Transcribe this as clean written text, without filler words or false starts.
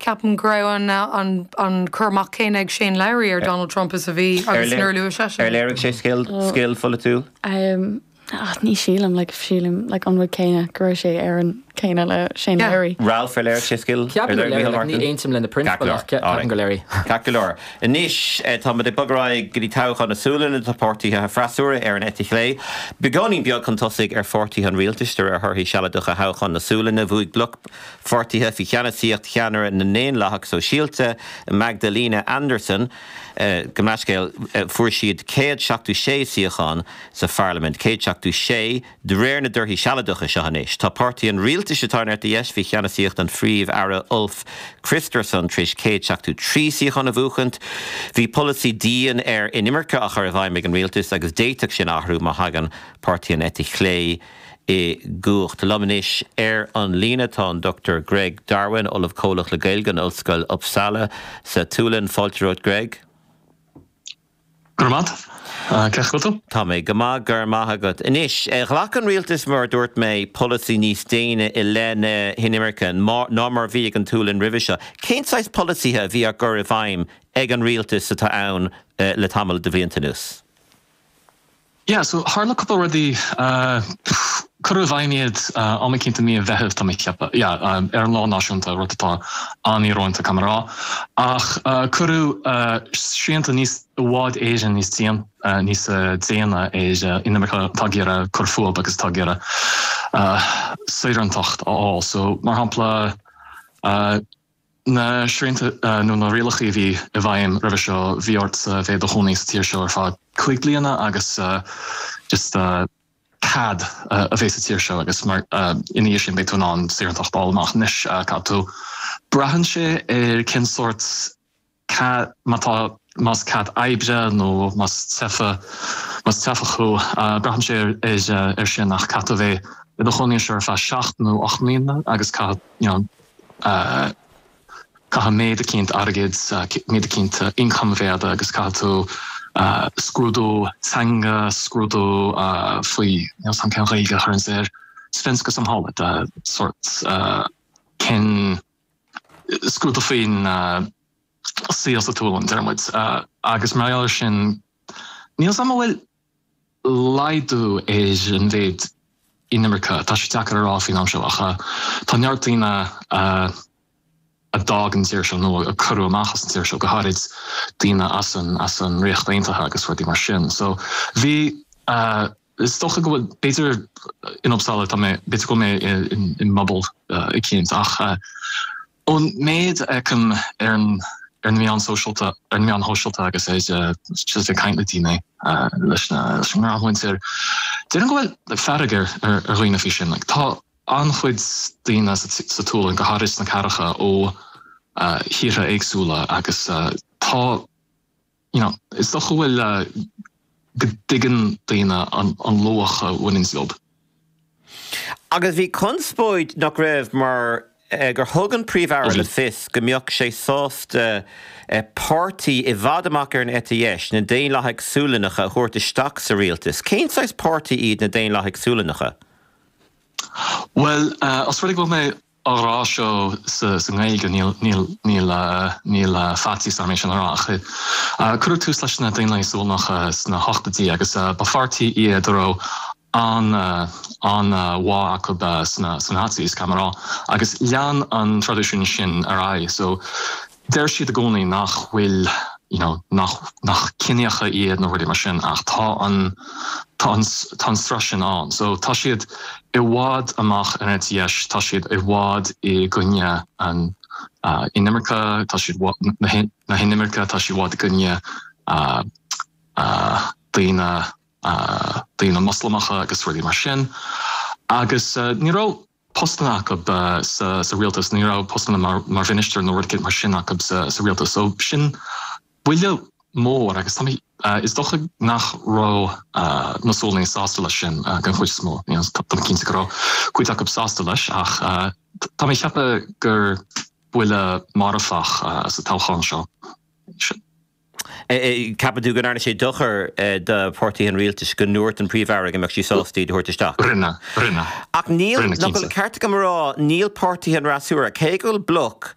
ceapaim go raibh an an an cur amach céanna ag Shane Lowry ar Donald Trump is a bhí agus nuair a luaigh seisean. Ar léirigh sé scil scil pholaitiúil? Um, ah, ní sílim, like, sílim, like, an rud céanna, go raibh sé ar an céanna le Shane Yeah. Lowry. Ralph, ar léirigh sé scil? Ar Ceapaim gur léirigh léirigh, Micheál like, ní Martin? aontaím le na Ceart go prionsabail leor. ach ceapaim Alright. gur léirigh. Ceart go leor. Anois, táimid ag bogadh ar aghaidh go dtí toghchán na Sualainne. Tá páirtithe an fhreasúra ar an eite chlé beagáinín beag chun tosaigh ar pháirtithe an rialtais de réir thorthaí sealadacha thoghchán na Sualainne. Bhuaigh bloc pháirtithe faoi cheannasaíocht cheannaire na nDaonlathach Sóisialta, Magdalena Andersson, gabh mo leithscéal, fuair siad 176 suíochán sa pharlaimint, 176 de réir na dtorthaí sealadacha seo anois. Tá páirtí an rialtais atá ar an eite dheis faoi cheannasaíocht an Phríomh-Aire Ulf Kristersson tar éis 173 suíochán a bhuachaint. Bhí polasaí dian ar inimirce á chur i bhfeidhm ag an rialtas agus d'fhéadfadh sin athrú má thagann páirtí an eite chlé i gcumhacht. Liom anois ar an líne tá an Dr Greg Darwin, Ollamh Comhlach le Gaeilge in Ollscoil Uppsala sa tSualainn. Fáilte romhat Greg. Go raibh maith agat. Cén chaoi a bhfuil tú? Tá mé go maith, go raibh maith agat. Anois, ghlac an rialtas, mar a dúirt mé, polasaí níos déine i leith na hinimirce ná mar a bhí ag an tSualainn roimhe seo. Cén saghas polasaithe a bhí á gcur i bhfeidhm ag an rialtas atá ann le tamall de bhlianta anuas? Yeah, so tharla cúpla rudaí, cuireadh i bhfeidhm iad am eicínt i mí an Mheithimh tá mé ag ceapadh, yeah, ar an lá náisiúnta, rud atá an-íorónta caithfidh mé a rá. Ach cuireadh srianta níos, i bhfad Éireann níos níos déine ar inimirce atá ag iarraidh cur fúthu agus atá ag iarraidh saorántacht a fháil. So mar shampla, Na srianta nó na rialacha a bhí i bhfeidhm roimhe seo, bhí ort a bheith i do chónaí sa tír seo ar feadh 5 bliana agus just cead a bheith sa tír seo agus mar ina dhiaidh sin beidh tú in ann saorántacht a fháil amach. Anois caithfidh tú, braitheann sé ar cén sórt cead, má tá, más cead oibre nó más teifeach, más teifeach thú, braitheann sé ar ar sin ach caithfidh tú a bheith i do chónaí anseo ar feadh 7 nó 8 mbliana agus caithfidh, you know, caithfidh méid eicínt airgid, méid eicínt income a bheith agat agus caithfidh tú scrúdú teanga, scrúdú faoi, níl 's a'm cén Ghaeilge a chuireanns air, svenska samhället, sórt cén scrúdú faoin saol sa tSualainn, deir muid. Agus mar gheall air sin, níl 's a'm an bhfuil laghdú ar an mhéid inimirce. Tá sé deacair a rá faoin am seo ach tá neart daoine a d'fhág an tír seo nó a cuireadh amach as an tír seo, go háirid daoine as an as an Ríocht Aontaithe agus rudaí mar sin. So bhí, is dócha go bhfuil, b'fhéidir in Uppsala tá mé, b'fhéidir go bhfuil mé i mbubble eicínt ach Ón méid a fheicim ar an ar na meáin sóisialta, ar na meáin shóisialta agus ar just ag caint le daoine, leis na leis an ngnáthmhuintir, déarfainn go bhfuil fearg ar ar dhaoine faoi sin. Like tá an-chuid daoine sa sa tSualainn, go háirid sna cathracha, ó thíortha éagsúla agus tá you know, is dócha go bhfuil, go dtuigeann daoine an luach a bhaineann leo. Agus bhí conspóid, nach raibh, mar gur thug an Príomh-Aire le fios go mbeadh sé sásta páirtí i bhfad amach ar an eite dheis, na Daonlathaigh Sualannacha, a thabhairt isteach sa rialtas. Cén saghas páirtí iad na Daonlathaigh Sualannacha? Bhuel, os rud é go bhfuil mé á rá seo sa nGaeilge, níl, níl, níl, níl faitíos orm é sin a rá ach cuireadh tús leis na Daonlathaigh Sualannacha sna hochtóidí agus ba pháirtí iad a raibh an, an-bhá acu sna, sna Nazis, caithfidh mé a rá, agus lean an traidisiún sin ar aghaidh. So Deir siad i gcónaí nach bhfuil, you know, nach, nach ciníocha iad nó rudaí mar sin ach tá an, tá an, tá an sruth sin ann. So tá siad i bhfad amach ar an eite dheis, tá siad i bhfad i gcoinne an inimirce, tá siad, na, na hinimirce, tá siad i bhfad i gcoinne daoine, daoine Moslamacha agus rudaí mar sin. Agus ní raibh. postanna acu sa rialtas, ní raibh postanna mar mhinistir nó rud éicint mar sin acu sa rialtas. So sin buille mór agus tá mé, is dócha nach raibh na Sualannaigh sásta leis sin den chuid is mó. Tá mé cinnte go raibh cuid acu sásta leis ach tá mé ag ceapadh gur buille marfach sa toghchán seo. Ceapann tú go ndearna sé dochar do pháirtithe an rialtais go ndúirt an Príomh-Aire go mbeadh sí sásta iad a thabhairt isteach? Rinne, rinne. Ach níl, nach bhfuil an ceart agam a rá, níl páirtithe an fhreasúra, cé go bhfuil bloc.